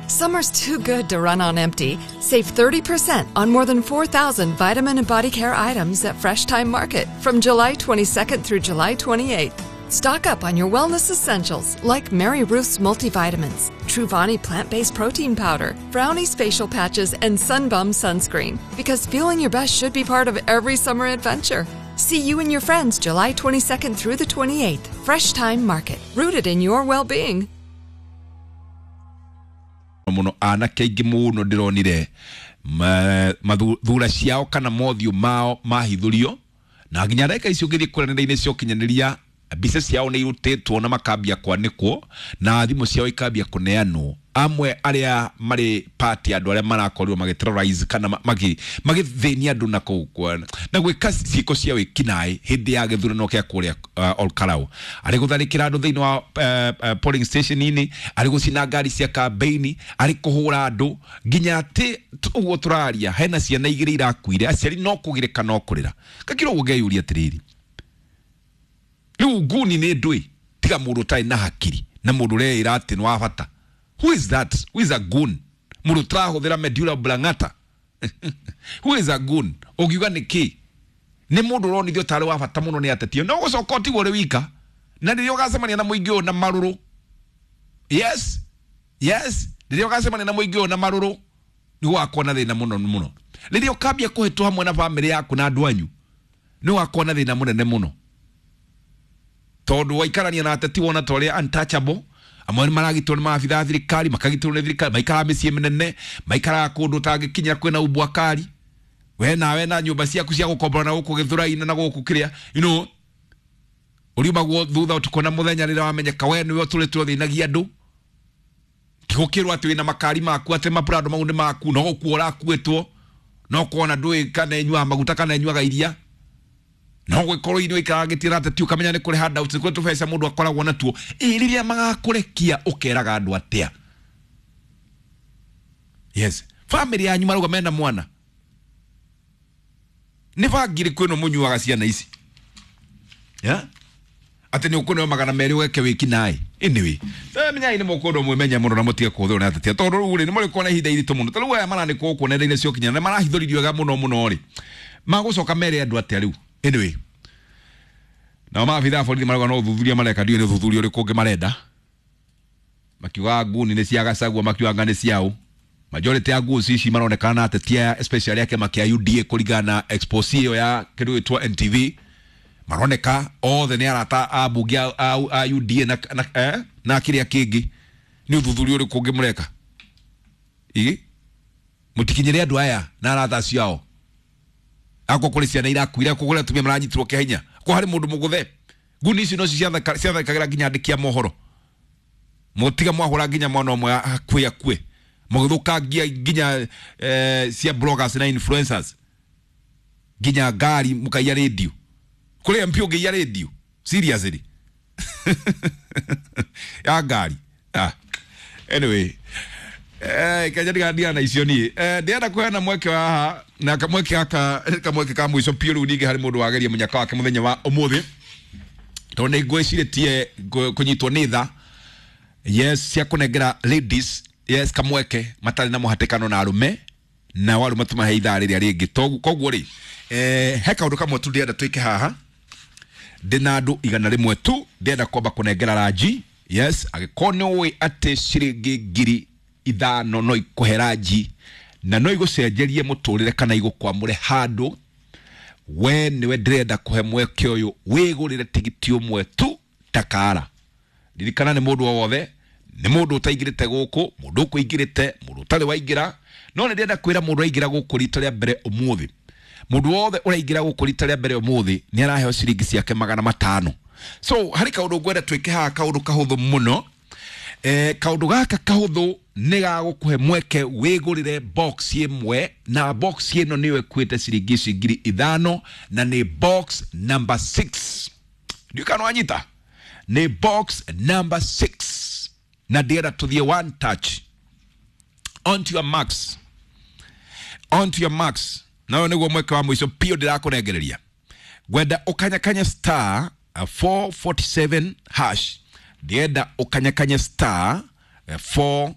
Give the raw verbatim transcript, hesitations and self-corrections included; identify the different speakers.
Speaker 1: Summer's too good to run on empty. Save thirty percent on more than four thousand vitamin and body care items at Fresh Thyme Market from July twenty-second through July twenty-eighth. Stock up on your wellness essentials like Mary Ruth's multivitamins, Truvani plant-based protein powder, Brownie's facial patches, and Sunbum sunscreen. Because feeling your best should be part of every summer adventure. See you and your friends July twenty-second through the twenty-eighth. Fresh Thyme Market, rooted in your well-being.
Speaker 2: Muno anake aingĩ mũno ndĩronire mathura ciao kana mothiũ mao mahithũrio, na nginya ndagĩka icio ũngĩthiĩ kũrĩa nenda-inĩ cia ũkinyanĩria mbica ciao nĩ irutĩtwo na makambia kwanĩkwo na thimũ ciao ikambia kũneanwo. Amwe arĩa marĩ party andũ arĩa marakorirwo magĩ kana magĩthĩnia andũ na kũu na gwĩka ciĩko cia wĩkinaĩ hĩndĩ ya gĩthurano kĩa kũrĩa uh, Olkarau, arĩ gũtharĩkĩra andũ thĩinĩ wa uh, uh, polling station-inĩ, arĩ gũcina ngari cia kambeini, arĩ kũhũra andũ nginya atĩ ũguo tũraria hena ciana igĩrĩ irakuire, aciari no kũgirĩka no kũrĩra. Gakĩra ũguo ngeyũria atĩrĩrĩ, rĩu nguni nĩ ndũĩ tiga mũndũ ũtarĩ na hakiri na mũndũ ũreĩra atĩ nĩ wa bata. Who is that? Who is a goon? Mũndũ ũtarahũthĩra medulla oblongata. Who is a goon? Ũngiuga nĩ kĩ? Nĩ mũndũ ũronithio tarĩ wa bata mũno nĩ ateti. No gũcoka ũtigwo ũrĩ wika. Na rĩrĩa ũgacemania na mũingĩ ũyũ na marũrũ. Yes. Yes. Rĩrĩa ũgacemania na mũingĩ ũyũ na marũrũ, nĩ ũgakorwo na thĩna mũno mũno. Rĩrĩa ũkambia kũhĩtwo hamwe na bamĩrĩ yaku na andũ anyu, nĩ ũgakorwo na thĩna mũnene mũno. Tondũ waikarania na ateti wona ta ũrĩa untouchable, amwe nĩ maragitwo nĩ maabithaa a thirikari, makagitwo nĩ thirikari, maikaraga mĩciĩ mĩnene, maikaraga kũndũ ũtangĩkinya kwĩna umbwa kari. We nawe na nyũmba ciaku cia gũkombora na gũkũ Gĩthũrai-inĩ na gũkũ kĩrĩa, you know, ũriumagwo thutha ũtukũ na mũthenya rĩrĩa wamenyeka we nĩwe ũtũrĩte ũthĩnagia andũ. Gũkĩrwo atĩ wĩna makari maku, atĩ maprado mau nĩ maku, no gũkua ũrakuĩtwo, no kuona ndũĩ kana ĩnyuaga maguta kana ĩnyuaga iria. No gwikorwo inyuĩ ikarangĩtie na ateti ũkamenya nĩ kũrĩ handouts, nĩ kũrĩ tũbeca mũndũ akoragwo natuo. Ĩ rĩrĩa magakũrekia ũkeraga andũ atĩa? Yes. Family yanyu marauga mena mwana. Nĩ bangi ĩrĩkũ ĩno mũnyuaga ciana ici? Yeah? Atĩ nĩ ũkũneo magana merĩ ũgeke wĩkinaĩ. Anyway, menyai nĩ mũkũndũ mwĩmenye mũno na mũtige kũhũthĩrwo nĩ ateti. Tondũ rĩu rĩ, nĩ mũrĩ kuona ihinda iritũ mũno. Ta rĩu aya maranĩkwo gũkũ nenda-inĩ cia ũkinyanĩria, marahithũririo wega mũno mũno rĩ. Magũcoka mere andũ atĩa rĩu? Anyway, nao maabithaa a borithi marauga no ũthuthuria mareka, ndiũĩ nĩ ũthuthuria ũrĩkũ ũngĩ marenda. Makiugaga nguni nĩ cia Gachagua, makiugaga nĩ ciao. Majority ya goons ici maronekana na ateti aya, especially a kĩama kĩa U D A kũringana na expose ĩyo ya kĩndũ gĩtwo N T V. Maroneka othe nĩ arata a mbunge a, a, a U D A na, na, eh, na kĩrĩa kĩngĩ. Nĩ ũthuthuria ũrĩkũ ũngĩ mũreka? Ĩ? Mũtikinyĩre andũ aya na arata acio ao. Ako kũrĩ ciana irakuire, ako kũrĩ atumia maranyitirwo kĩa hinya, ko harĩ mũndũ mũgũthe. Nguni icio nocio ciathakagĩra nginya andĩki a mohoro. Mũtiga mwahũra nginya mwana ũmwe akue akue. Mũgĩthũkangia nginya, eh, cia bloggers na influencers. Nginya ngari mũkaiya radio. Kũrĩ M P ũngĩiya radio. Seriously. Ya ngari. Ah. Anyway. Eh, kanya ndigandia na icio niĩ. Eh, ndĩrenda kũheana mweke wa haha, na kamweke gaka, kamweke ka mũico biũ rĩu ningĩ harĩ mũndũ wageria mũnyaka wake mũthenya wa ũmũthĩ. Tondũ nĩ ngwĩcirĩtie kũnyitwo nĩ tha. Yes, cia kũnengera ladies, yes, kamweke matarĩ na mũhatĩkano na arũme, na arũme tũmahe ithaa rĩrĩa rĩngĩ. Koguo rĩ, eh, he kaũndũ kamwe tu ndĩrenda twĩke haha. Ndĩna andũ igana rĩmwe tu ndĩrenda kwamba kũnengera ranji. Yes, angĩkorwo nĩ ũĩ atĩ ciringi ngiri ithano no ikũhe ranji na no igũcenjerie mũtũrĩre kana igũkwamũre handũ, we nĩwe ndĩrenda kũhe mweke ũyũ wĩgũrĩre tigiti ũmwe tu takara. Ririkana nĩ mũndũ o wothe, nĩ mũndũ ũtaingĩrĩte gũkũ, mũndũ ũkũingĩrĩte, mũndũ ũtarĩ waingĩra. No nĩ ndĩrenda kwĩra mũndũ aingĩra gũkũ rita rĩa mbere ũmũthĩ. Mũndũ wothe ũraingĩra gũkũ rita rĩa mbere ũmũthĩ nĩ araheo ciringi ciake magana matano. So harĩ kaũndũ ngwenda twĩke haha, kaũndũ kahũthũ mũno. Eh, kaũndũ gaka kahũthũ nĩ gagũkũhe mweke wĩgũrĩre box ĩmwe, na box ĩno nĩyo ĩkuĩte ciringi ici ngiri ithano, na nĩ box number six. Ndiũĩ kana wanyita? Nĩ box number six. Na ndĩrenda tũthiĩ one touch. Onto your marks. Onto your marks. Na ũyũ nĩguo mweke wa mũico biũ ndĩrakũnengereria. Ngwenda ũkanyakanye star four forty-seven hash. Ndĩrenda ũkanyakanye star four